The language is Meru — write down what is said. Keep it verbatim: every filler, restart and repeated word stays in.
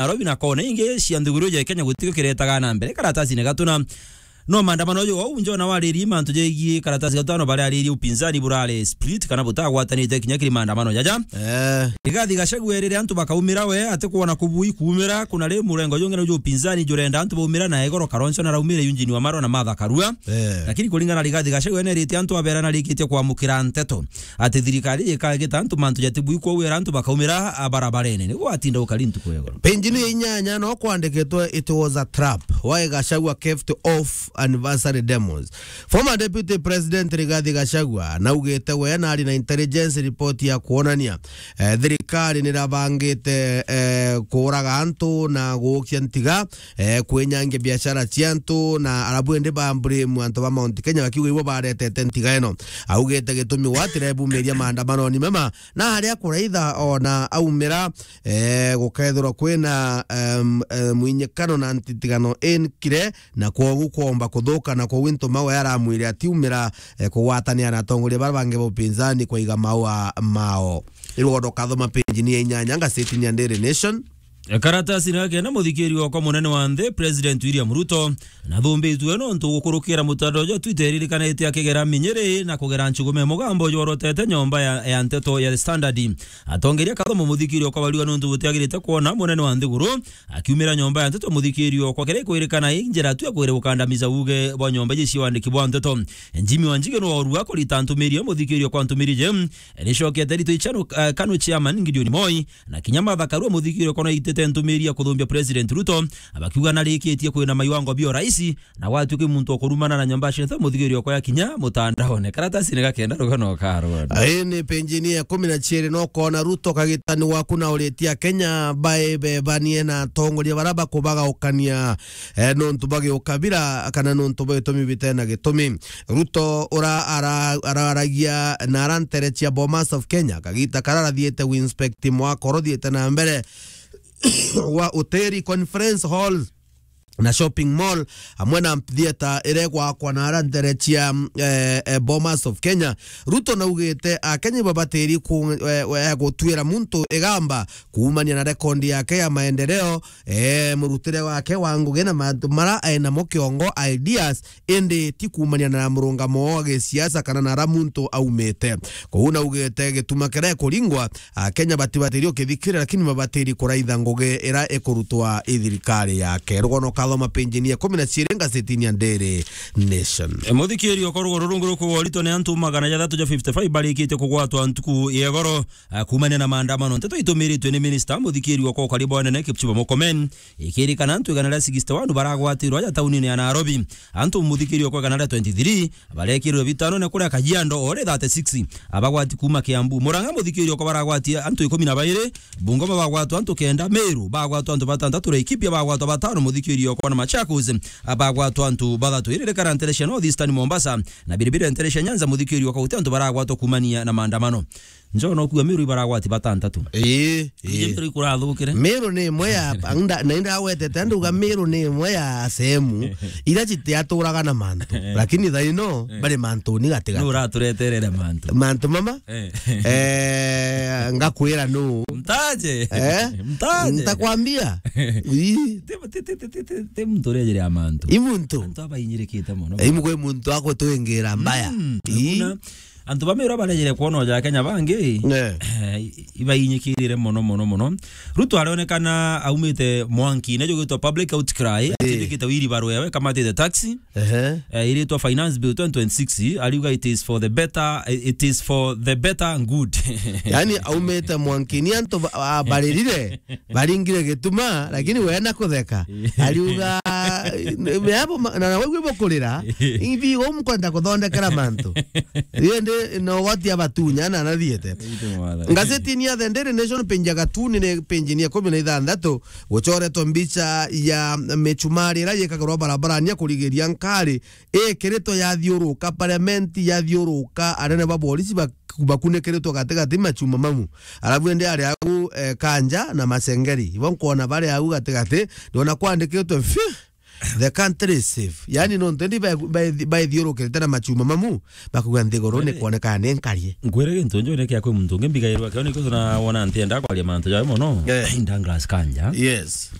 Nairobi na kona ingi cia nthiguru ya Kenya gutio kiretaga na mbere. Karatasi ni gatuna. No maandamano jo au njona wariri mantu jegie karatasi gatano baria ariri upinzani burare split kana butagwatanite kinya kiri maandamano jaja. Eh. Rigathi Gachagua erire antu bakaumira we ati kuona kubui kuumira kuna ri murengo jongera jo upinzani jurenda antu baumira na igoro Kalonzo na raumire Eugene Wamalwa na Martha Karua. Eh. Lakini kuringana na Rigathi Gachagua nerite antu abera na rikitie kwamukira nteto ati thirikari ikagita antu mantu jatibui kwou era antu bakaumira barabarene. Niguo atinda ukari ntuku ya igoro. Page-ini ya inyanya no kwandikitwe, "It was a trap. Why Gachagua kept off anniversary demos." Former Deputy President Rigathi Gachagua naugite we nari na intelligence report ya kuonania, eh, thirikari nirabangite, eh, kuuraga antu na guukia ntiga, eh, kwinyangia biashara cia antu na arabu indi ba blame antu ba Mount Kenya bakiuga ibo baretete ntiga ino. Augite gitumi gwatirebumiria maandamanoni mema na aria kuraitha ona aumira, eh, gukethirwa kwina, em, eh, mwinyikano na ntitigano inkire, na kwogu kwomba kuthuka, na kwogu intuma we aramwire atiumira, eh, kugwatania na atongoria baria bangi ba upinzani kwaiga maua mao. Irugondo kathoma page-ini ya inyanya ngazetini ya Daily Nation. Karatasi na kenda, muthikiri wakwa munene wa nthi, President William Ruto, nathumbitue nontu gukurukira mutandao jwa Twitter iririkanite akigera minyiri na kugera nchugume mugambo jworotete nyomba ya, ya nteto ya Standard. Atongeria kathomo muthikiri okabariwa nontu butiagirite kwona munene wa nthiguru akiumira nyomba ya nteto muthikiri okwa kere kwirikana i njira tu ya kwire gukandamiza uge bwa nyomba ici cia wandiki bwa nteto. Jimmy Wanjigi no orua kurita ntumiri muthikiri okwa ntumiri je nicokete rito ichano, eh, Kanu chairman Gideon Moi na kinya Martha Karua muthikiri okwa no itete ntumiri ya kuthumbia President Ruto abakiuga narikitie kwina maiwango bio raisi na gwatuika muntu okurumana na nyomba cia nteto muthikiri okwa ya kinya mutandaone. Karatasi ni gakenda rugano karwa. Ai ni page-ini ya ikumi na ciiri no kona Ruto kagitani waku na uritia Kenya bae bebanie na atongoria bara bakubagaukania, eh, nontu bagiukabira kana nontu bwa itumi bitena gitumi. Ruto ura ara-, araragia na arantere cia Bomas of Kenya kagita kararathiete winspect mwaka urothiete na mbere wa hoteli, conference hall na shopping mall, amwe na theatre iria igwakwa na ara ntere cia, eh, eh, Bomas of Kenya. Ruto naugite Akenya ibabatiri ku-, eh, eh, gutwira muntu igamba kuumania na rekondi yake ya maendeleo, eh, murutire wake wa ngugi na mantu mara ainamo kiongo, ideas, indi ti kuumania na murungamo wa gisiasa kana na ara muntu aumite. Kou naugite gituma kiria ikuringwa Akenya batibatiri ukithikira, lakini babatiri kuraitha ngugi ira ikurutwa i thirikari yake. Rugono kathoma page-ini ya ikumi na ciiri ngazetini ya Daily Nation. E, muthikiri okwa rugo ruru nguru kugorito ni antu magana jathatu ja fifty-five barikitie kugwatwa ntuku ya igoro, a, kuumania na maandamano. Nteto itumiritwe ni minista muthikiri okwa ukari bwa nene Kipchumba Murkomen, ikirikana antu igana ria sixty-one baragwatirwa aja taunini ya Nairobi. Antu muthikiri okwa igana ria twenty-three barekirwe bitano na kuria Kajiado ore thirty-six abagwati kuuma Kiambu. Murang'a muthikiri okwa baragwatia antu ikumi na bairi, Bungoma bagwatwa antu kenda, Meru bagwatwa antu batantatu, Laikipia bagwatwa batano, muthikiri okwa na Machakos bagwatwa antu bathatu. Iririkana ntere cia North Eastern Mombasa na biribiri ntere cia Nyanza muthikiri okwa guti antu baragwatwa kuumania na maandamano. Njo no kuga Meru ibaragwati batantatu. Ii, ii. Meru ikurathukire. Meru ni imwe ya, nda-, na indagwetete, nduga Meru ni imwe ya sehemu ira citiaturaga na mantu. Eh. Lakini thaino, eh, bari mantu ni gatigati. Ni uratureterere mantu. Mantu mama? Eh. Eh, ngakwira nu. Mtaje. Eh? Mtaje. Ntakwambia. Ii. Ti, ti, ti muntu urejere ya mantu. I muntu. Antu abainyirikite mono. I mugwe muntu akutwingira mbaya. Mm, ii. Antu ba Meru barejere kwona oja Kenya bangi, eh, ibainyikirire mono, mono, mono. Ruto aronekana aumite mwanki, nejo gwitwa public outcry, eh, atindikite wiri barua yawe kamatite taxi, ehe, eh, iritwa Finance Bill twenty twenty-six, ariuga it is for the better, it is for the better good. Yani aumite mwanki, ni antu ba-, ba-, baririre, baringire gituma, lakini we na kutheka. Ariuga, me abo ma-, na, na waigua bokurira, ibi umkwenda kuthondekera mantu. Indi no goti abatunya na nathiete. Ngazetini ya The Daily Nation page ya gatuni ni page ni ya ikumi na ithanthatu, gucoretwe mbicha ya michumari ira yikagirwa barabarani ya kurigiria nkari, ikiritwe yathiuruka, parliament yathiuruka, anene ba borisi bak-, bakunikiritwe gatigati machuma mamu. Alafu indi ari au, eh, Kanja na Masengeri. Ibo nkwona bari au gatigati, ndiona kwandikitwe, "Phew!" The country is safe. Yani nontu ndi baithiurukirite na machuma mamu, bakuga nthiguru ni kwoneka ni nkarie. Ngwire gintu njo ni kia kwi muntu ungi mbigairwa kio ni kio na wona ntienda kwaria mantu jawe mono. Eh. Douglas Kanja. Yes.